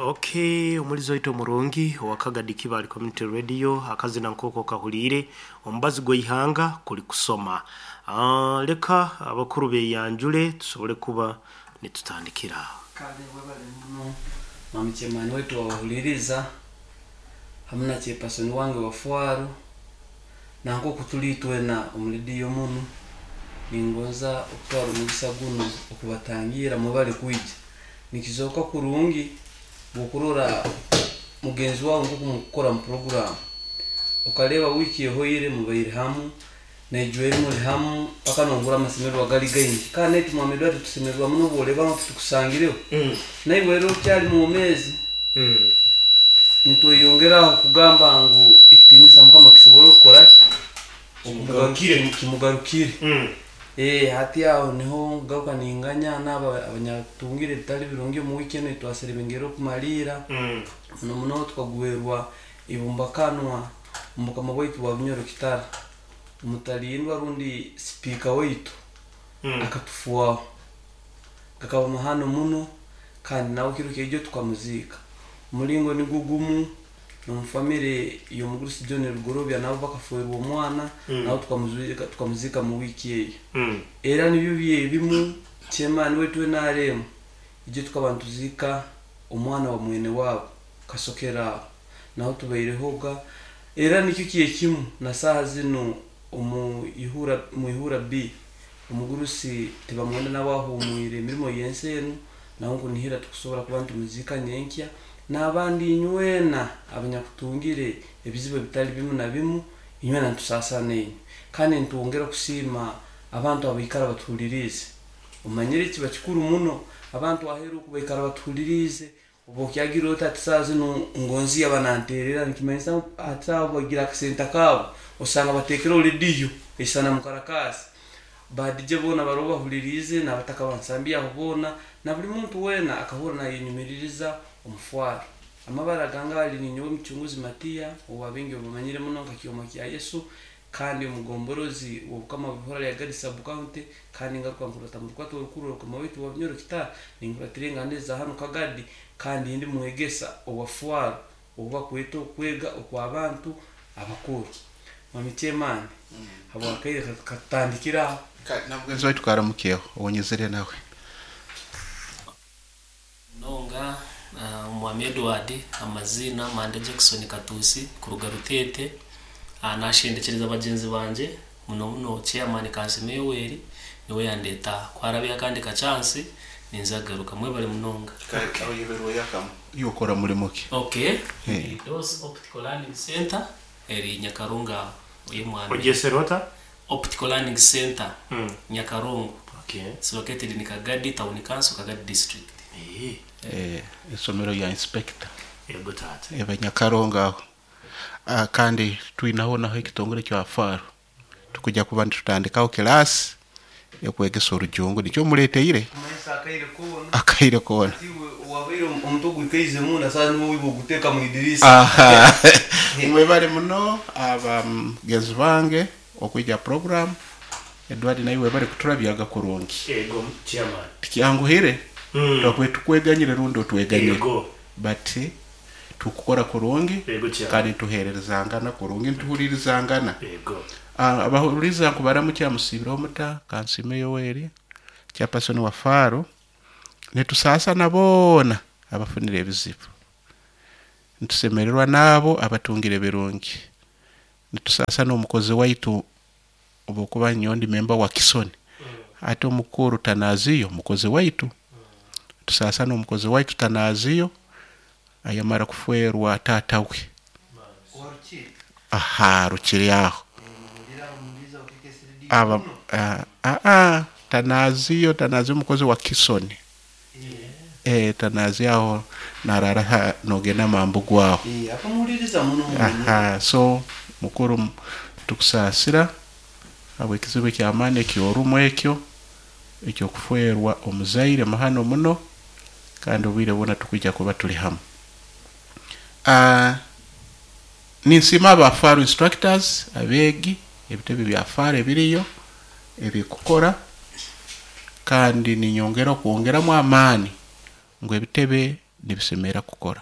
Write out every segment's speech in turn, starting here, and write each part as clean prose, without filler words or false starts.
Okay, omulizi waitu omurungi owa Kagadi Kibaale Community Radio, akazina nk'oko kahuliire omubazi gw'eihanga kuli kusoma. Leka abakuru beyanjule tusobole kuba nitutandikira aho. Kale webale muno mwami chairman waitu wabahuliriza hamu na chairperson wange wa Fwaru, na nk'oku tuli itwena omu rediyo munu, ningonza okutwara omugisa gunu okubatangira mwebale kwija. Nikizooka kurungi bw'okurora mugenzi wawe nk'oku mukukora mu puroguramu, okareba wiiki ehoire mubaire hamu, naijweri muri hamu, paka nohurra amasemererwa gari gaingi. Kandi naitwe mwami Edward tusemererwa muno obworeba ngu titukusangireho. Naiwe rero okyali mwomeezi, nitweyongeraho kugamba ngu ekitiinisa Mukama kisobole okukora ki? Kimugarukire. Kimugarukire. Hati aho niho ngaruka ninganya n'abo abanyatungire ebitali birungi omu wiiki enu etwaserebengere okumaliira. Muno muno tukagwerwa ibumbakanwa omukama waitu wa Bunyoro Kitara. Omutalindwa rundi sipiika waitu akatufuaho. Gakaba mahano muno kandi nawe kiro kyaijo tukamuziika. Omulingo nigwo gumu n'omu famire y'omugurusi John Rugorobya nabo bakaferwa omwana, nabo tukamuziika mu wiiki eyo. Era nibyo byebimu chairman waitu NRM ijo tukaba nituziika omwana wa mwene wabo Kasokera aho. Naho tubairehoga. Era nikyo kyekimu na saaha zinu omu Ihura B omugurusi tibamwenda nawe ahumwire emirimo y'ensi enu, naho nkunihira tukusobora kuba nitumuziika nyenkya. N'abandi inywena abanyakutungire ebizibu ebitali bimu na bimu, inywena nitusaasana inywe. Kandi nitwongera kusiima abantu abaikara batuhuliriize. Omanyire kiba kikuru muno abantu aheeru oku baikara batuhuliriize, obu okyagira oti ati saaha zinu ngonzi yaba nanteerera, nikimanyisa ngu hati saaha obu bagira akasente kaabo, osanga bateekereho rediyo esana mukarakaasi. Ba DJ boona baroho bahuliriize, n'abataka bansambi aho boona, na buli muntu weena akahurra nayenyumiririza omufwaro. Amabara gange ali ninyowe Mucunguzi Matiya, owa baingi obamanyire muno nka Kyoma kya Yesu, kandi omugomborozi w'obukama bw'ihura lya Gadi Sub County, kandi ngaruka nkurata mu rukwato orukuru orukama waitu wa Bunyoro Kitara, ninkuratira enganda eza hanu Kagadi, kandi ndi mwegesa owa Fwaro, obu bakweta okwega okw'abantu abakuru. Mwami Chairman, habwakaire katutandikire aho. Na mugenzi waitu karamukyeho owonyezere nawe. Munonga Omwami Edward, amaziina Mande Jackson Katuusi kuruga Ruteete. Nashendekyereza bagyenzi bangye muno muno chairman Kansime Yoweri niwe yandeeta aha. Ku harabeho akandi ka chance ninza kugaruka. Mwebare munonga. Oyeberweyo akamu. Iwe okora mulimo ki? Okay. Dos Optical Learning Center eri Nyakarongo aho ey'omwami. Ogyesere ota? Optical Learning Center Nyakarongo. It's located in Kagadi Town Council, Kagadi District. Isomero lya inspector. Yego taata. Eba Nyakarongo aho. Kandi twinaho naho ekitongore kya Faro. Tukujja kuba nitutandikaho kilaasi ekwegesa orujungu nikyo muleteire. Kumanyisa akaire koona. Akaire koona. Hati iwe owabaire omutwe ogwikaize munda saaha niwe oiba oguteeka mu idirisa. Mwebale muno abagenzi bange okwija program. Edward naiwe webale kuturabyaga kurungi. Ego chairman. Tikyanguhire twakubaire tukweganyire rundi otweganyire. Ego. But tukukora kurungi Ego chairman. kandi nituhererezangana kurungi nituhuririzangana. Ego. Abahuriza nkubaramukya musiibireho muta Kansiime Yoweri chairperson wa Faro. Nitusaasana boona abafunire ebizibu. Nitusemererwa n'abo abatungire ebirungi. Nitusaasana omukozi waitu obwokuba nyowe ndi memba wa Kisoni. Ate omukuru Tanaziyo mukozi waitu. Tusaasana omukozi waitu Tanaziyo ayamara kufwerwa taata we. Aha rukiri aho. Aba Tanaziyo Tanaziyo omukozi wa Kisoni. Tanaziyo aho narara nogenda Mambugu aho. Akamuhuliriza muno muno. Aha so mukuru tukusaasira habw'ekizibu eky'amaani eky'orumu ekyo eky'okufwerwa omuzaire muhano muno kandi obwire bwona tukwija kuba tuli hamu. Ninsiima aba Faro instructors abeegi ebitebe bya Faro ebiriyo ebikukora kandi ninyongera okwongeramu amaani ngu ebitebe Nibisemera kukora.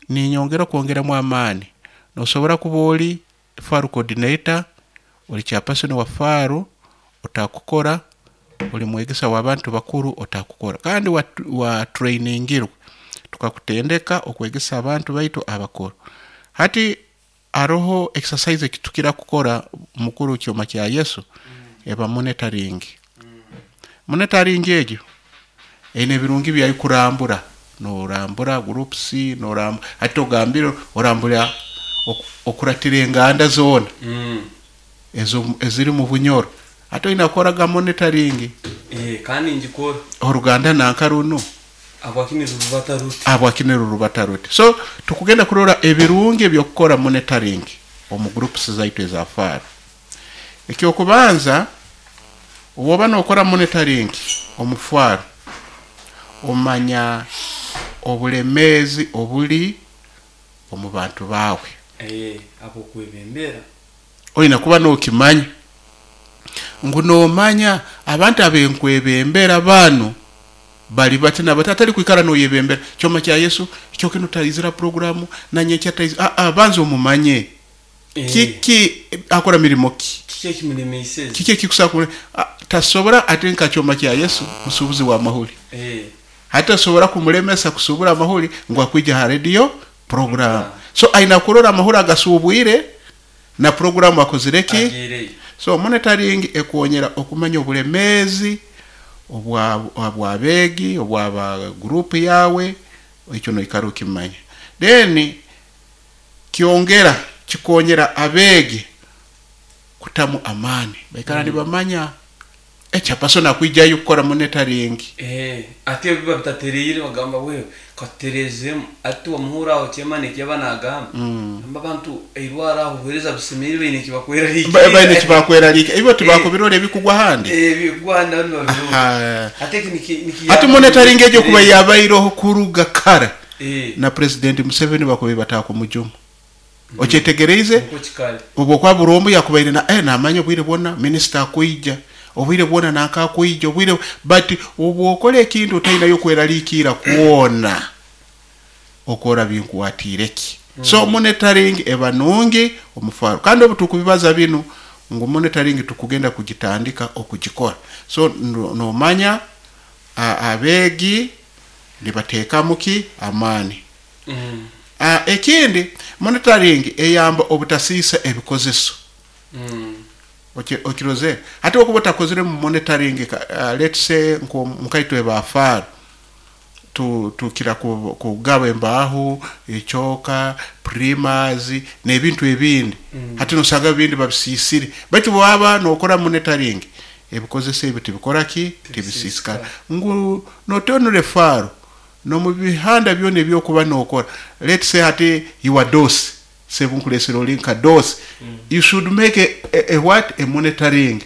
Ninyongera kwongeramu amaani, nosobora kuba oli faru coordinator, oli chairperson wa faru otakukora, oli mwegesa w'abantu bakuru otakukora, kandi wa trainingirwe tukakutendeka okwegesa abantu baitu abakuru. Hati haroho exercise ekitukira kukora mukuru kyoma kya Yesu, eba monitoring. Monitoring egyo eine ebirungi byayo, kurambura, norambura groups, norambura hati ogambire orambura okuratira enganda zoona ezo eziri mu Bunyoro. Hati oina kukoraga monitoring. Kandi ngikora. Oruganda nanka runo abwakini rurubata ruti, abwakini rurubata ruti. So tukugenda kurora ebirungi ebyokukora monitoring omu groups zaitu eza faru. Ekyokubanza, woba nokora monitoring omu faru, omanya obulemezi obuli omu bantu bawe. Abokwebembera. Oyina kuba nokimanya ngu nomanya abantu abenkwebembera bano bali bati na bati, atali kwikara noyebembera kyoma kya Yesu ekyo kino taizira programu nanye kyataizi. Banza omumanye. Kiki akora, mirimo ki? Kiki ekimulemeiseze? Kiki ekikusakure tasobora ate nka kyoma kya Yesu musubuzi wa mahuli. Hati asobora kumulemesa kusubura amahuli ngu akwija ha radio program. So aina kurora amahuri agasubwire na programu akozire ki. Agiireyo. So monitoring ekonyera okumanya obulemezi obwabegi obwaba group yawe, ekyo noikara okimanya. Then kyongera kikonyera abegi kutamu amani, baikara nibamanya ekyapasona akwijayo kukora monitoring. Ate biba bitatereire bagamba wewe katuterezemu, ati wamuhura aho kyemane kyaba nagamba, amba abantu eirwara aho buhereza busemerire baine kibakweraliikirira. Baine kibakweraliika ibo tibakubirora ebikugwa handi. Bigwanda nibabirora. Ate eki Hati monitoring egyo kuba yabaireho kuruga kara, na President Museveni bakuba batakumujuma, okyetegereize? Niko kikali. Obwo kwa burombo yakubaire na namanya obwire bwona minisita akwija, obwire bwona nanka akwija obwire, but obwokola ekintu otainayo kweraliikira kwona, okora binkwatiire ki. So monitoring eba nungi omufaro, kandi obu tukubibaza binu ngu monitoring tukugenda kugitandika okugikora. So nomanya abeegi nibateekamu ki amaani. Ekindi, monitoring eyamba obutasiisa ebikozeso. Okiroze hati okuba otakozire mu monitoring, let's say nkaitwe bafaaro tukira kugaba embaho, ekyoka, primas n'ebintu ebindi. Hati nosanga ebindi babisiisire, baitu bwaba nokora monitoring ebikozeso ebi tibikora ki, tibisiisikara, ngu notonure faro nomu bihanda byona ebyokuba nokora. Let's say hati you are DOS, sebunkulesera oli nka DOS, you should make a what, a monitoring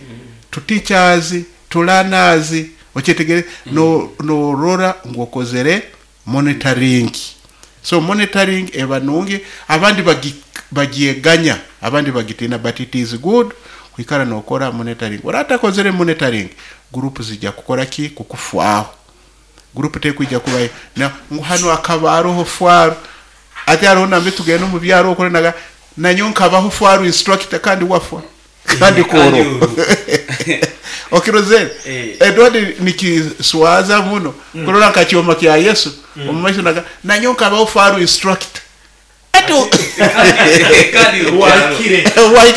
to teachers, to learners, okyetegere? No norora ngu okozere monitoring. So monitoring eba nungi, abandi bagyeganya, abandi bagitina, but it is good kwikara nokora monitoring. Oratakozere monitoring, group zijja kukora ki, kukufwaho. Group tekwija kubayo na ngu hano akaba aroho fwaro, ate hariho nambe tugenda omu byaro okore naga nanyo nkabaho fwaro instructor, kandi wafwa kandi Kandi koro. Okirozere? Edward, nikiswaza muno kurora nka kyoma kya Yesu omu maiso naga nanyo nkabaho fwaro instructor ati Kandi Wahikire. Wahikire.